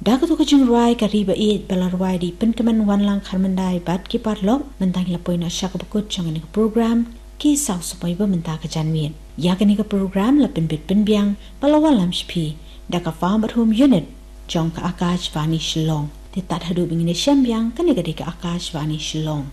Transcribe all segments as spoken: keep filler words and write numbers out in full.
Da katu ka jingrwai ka Ri Ba Ïeit ba la rwai da i Pynkmen Wanlang Kharmyndai bad ki paralok, mynta ngi la poi noh sha kaba kut jong kane ka program, Ki Saw Samoi Ba Mynta ka Janmiet. Ïa kane ka program la pynbit pynbiang bad la wanlam sha phi da ka Farm at Home Unit jong ka Akashvani Shillong. Te tad haduh ba ngin ïashem biang, kane ka dei ka Akashvani Shillong.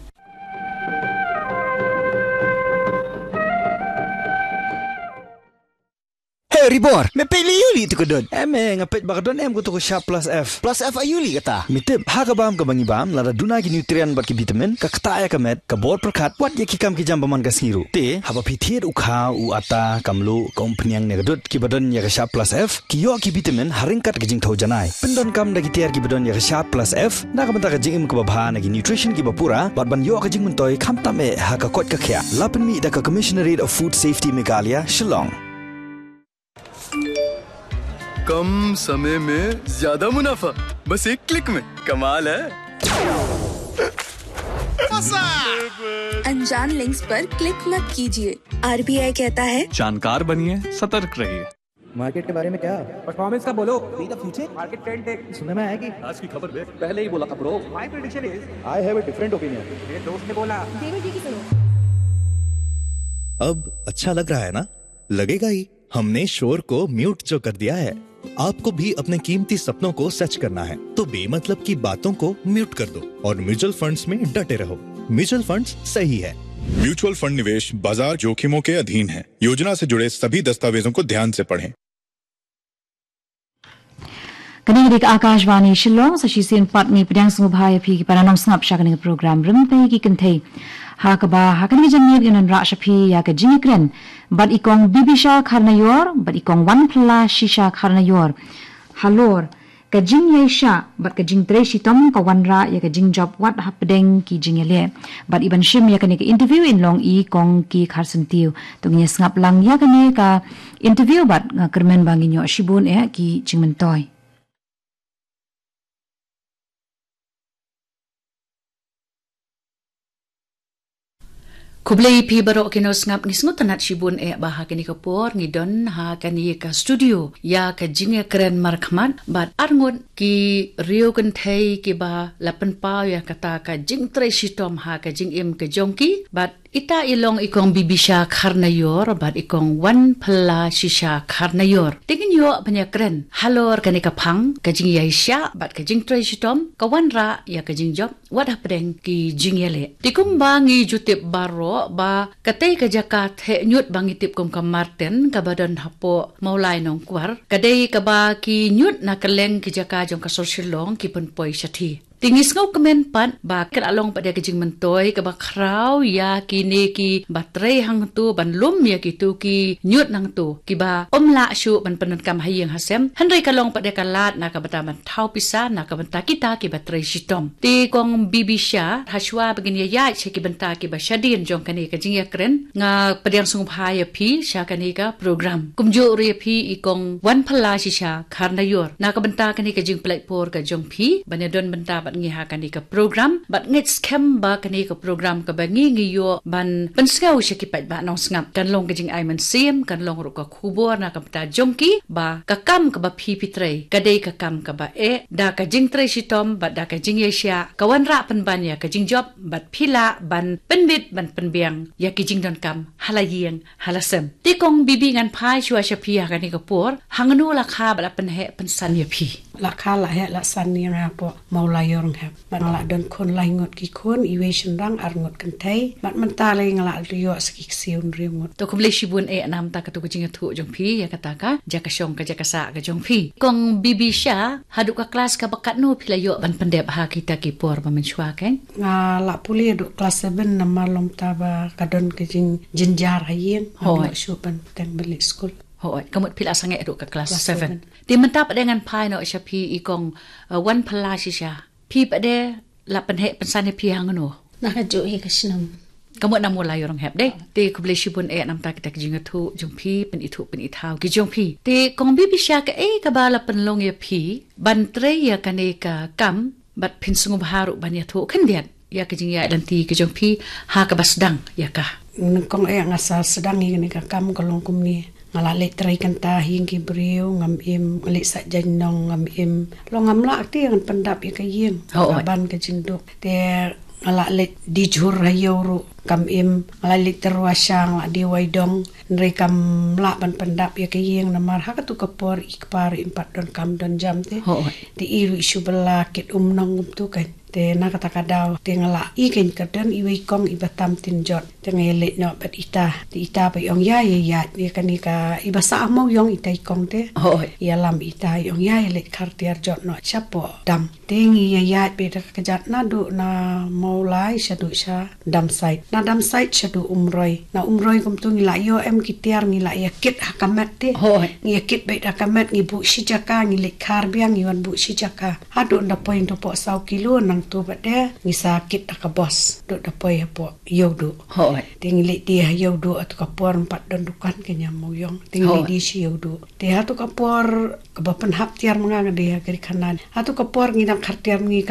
Hey, Ribor, me peit lei ïa u lei tu ka don. Em, eh, nga peit ba ka don em katu ka Sharp Plus F. Plus F aïu lei kata? Me tip, ha ka bam kaba ngi bam, lada duna ki nutrient bad ki vitamin, ka ktah ïa ka met, ka bor pyrkhat, wat ïa ki kam ki jam ba man ka sngi ruh. Te, haba phi thied u kha, u ata, ka mluh, ka umphniang ne ka dud, kiba don ïa ka Sharp Plus F, ki ïoh ki vitamin, ha ryngkat ka jingthew janai. Pyndonkam da ki tiar kiba don ïa ka Sharp Plus F, na ka bynta ka jingim kaba bha na ki nutrition kiba pura, bad ban ïoh ka jingmyntoi khamtam eh ha ka koit ka khiah. La pynmih da ka Commissionerate of Food Safety Meghalaya, Shillong. कम समय में ज्यादा मुनाफा, बस एक क्लिक में। कमाल है। अनजान लिंक्स पर क्लिक मत कीजिए। आरबीआई कहता है, जानकार बनिए, सतर्क रहिए। मार्केट के बारे में क्या? परफॉर्मेंस का बोलो। बी द फ्यूचर। मार्केट ट्रेंड देख। सुनने में आया कि आज की खबर देख। पहले ही बोला था ब्रो। माय प्रेडिक्शन इज। आई हैव अ डिफरेंट ओपिनियन। मेरे दोस्त ने बोला। देवर जी की सुनो। अब अच्छा लग रहा है ना? लगेगा ही। हमने शोर को म्यूट जो कर दिया है। आपको भी अपने कीमती सपनों को सच करना है, तो बेमतलब की बातों को म्यूट कर दो और म्यूचुअल फंड्स में डटे रहो। म्यूचुअल फंड्स सही है। म्यूचुअल फंड निवेश बाजार जोखिमों के अधीन है। योजना से जुड़े सभी दस्तावेजों को ध्यान से पढ़ें। Kane ka dei ka Akashvani Shillong, sa shisien pat ngi pdiang sngewbha ïa phi ki para nongsngap sha kane ka program Rympei ki Kynthei. Ha kaba, ha kane ka janmiet ngin wanrah sha phi ïa ka jingïakren bad i Kong Bibisha Kharnaior, bad i Kong Wanphylla Shisha Kharnaior. Halor ka jingïaishah bad ka jingtrei shitom ka wanrah ïa ka jingjop wat hapdeng ki jingïaleh. Bad i ban shim ïa kane ka interview in long i Kong Ki Kharsyntiew. To ngin ïa sngap lang ïa kane ka interview bad nga kyrmen ba ngin ïoh shibun eh ki jingmyntoi. Khublei phi baroh ki nongsngap, ngi sngewtynnat shibun eh ba ha kane ka por ngi don ha kane ka studio ïa ka jingïakren markhmat bad arngut ki riew kynthei kiba la pynpaw ïa kata ka jingtrei shitom ha ka jingim ka jong ki, bad ita i long i Kong Bibisha Kharnaior bad i Kong Wanphylla Shisha Kharnaior. Te ngin ïoh ban ïakren halor kane ka phang ka jingïaishah bad ka jingtrei shitom ka wanrah ïa ka jingjop wat hapdeng ki jingïaleh. Te kumba ngi ju tip baroh ba katei ka jaka theh ñiut ba ngi tip kum ka Marten kaba don hapoh Mawlai Nongkwar, ka dei kaba ki ñiut na kylleng ki jaka jong ka sor Shillong ki pynpoi shathie. Te ngi sngewkmen pat ba ka la long pat ïa ka jingmyntoi kaba khraw ïa kine kiba trei hangto ban lum ïa kito ki ñiut nangto kiba ym lah shuh ban pyndonkam ha ïing ha sem. Hynrei ka long pat ïa ka lad na ka bynta ban thaw pisa na ka bynta kita kiba trei shitom. Te Kong Bibisha, hashwa ba ngin ïa ïaid sha ki bynta kiba shadien jong kane ka jingïakren, nga pdiang sngewbha ïa phi sha kane ka program. Kumjuh ruh ïa phi i Kong Wanphylla Shisha Kharnaior, na ka bynta kane ka jingpynlait por ka jong phi ban ïadon bynta bad ngi ha kane ka program, bad ngeit skhem ba kane ka program kaba ngi ngi ïoh ban pynsngew sha ki paidbah nongsngap kan long ka jingai mynsiem, kan long ruh ka khubor na ka bynta jong ki ba ka kam kaba phi phi trei ka dei ka kam kaba eh, da ka jingtrei shitom bad da ka jingïaishah ka wanrah pynban ïa ka jingjop bad phi lah ban pynbit ban pynbiang ïa ki jingdonkam ha la ïing ha la sem. Te Kong Bibi, ngan phai shuwa sha phi ha kane ka por, hangno la kha bad la pynheh pynsan ïa phi? La kha la heh la san ïa nga hapoh Mawlai Ïornghep. Bad nga la don khun lai ngut ki khun, iwei shynrang ar ngut kynthei. Bad mynta lei nga la ïoh sa ki ksiew hynriew ngut. To khublei shibun eh namar kata ka jingïathuh jong phi ïa kata ka jaka shong ka jaka sah ka jong phi. Kong Bibisha, haduh ka klas kaba katno phi la ïoh ban pyndep ha kita ki por ba mynshuwa keiñ? Nga la pule haduh klas seven namar long ta ba ka don ka jingjynjar ha ïing. Hooid. Ngam ïoh shuh ban bteng ban leit skul. Hooid, ka mut phi la sangeh haduh ka klas seven. Te mynta pat de ngan phai noh sha phi i Kong, eh, Wanphylla Shisha. Phi pat de la pynheh pynsan ïa phi hangno? Na kajuh hi ka shnong. Ka mut na Mawlai Ïornghep de. Te khublei shibun eh namar kita ki jingïathuh jong phi, pynithuh pynithaw ki jong phi. Te Kong Bibisha, kaei kaba la pynlong ïa phi ban trei ïa kane ka kam bad phin sngewbha ruh ban ïathuh khyndiat ïa ka jingïaid lynti ka jong phi ha kaba sdang ïa ka? Nyngkong eh nga sa sdang ïa kane ka kam ka long kumne. Nga la leit trei kynta ha ïing ki briew ngam im, nga leit sah jaiñ nong ngam im. Long ngam lah te ngan pyndap ïa ka ïing. Oh, ka ban ka jingduk. Te nga la leit die jhur ha ïew ruh kam im. Nga la leit tyrwa sha, nga la die wai dong. Hynrei kam lah ban pyndap ïa ka ïing namar ha katu ka por i kpa ruh im pat don kam don jam te. Oh. Te i ruh i shu bylla kit um nong kumtu kan. Te na kata ka daw te nga la i kan ka don iwei i kong iba tam tin jot. Te nga ïa leit noh bad ita. Te ita pat i ong ïa ïa ïaid ïa kane ka iba sah ha Mawïong ita i kong te. Oh. Ïalam ita i ong ïa ïa leit khar tiar jot noh shapoh dam. Te ngi ïa ïaid beit da ka kjat naduh na Mawlai shaduh sha Damsait. Na Damsait shaduh Umroi. Na Umroi kumtu ngi la ïoh em ki tiar ngi la ïa kit ha ka met te. Hooid. Ngi ïa kit beit ha ka met ngi buh shi jaka ngi leit khar biang ngi wan buh shi jaka. Haduh nda poi nda poh saw kilo nangtu bad de ngi sa kit ha ka bos. Duh nda poi hapoh Ïewduh. Hooid. Te ngi leit die ha Ïewduh atu ka por ym pat don dukan ka ñiam Mawïong. Te ngi leit die sha Ïewduh. Te hatu ka por kaba pynhap tiar ma nga nga die ha ka ri khanan. Hatu ka por ngi dang khar tiar ma ngi ka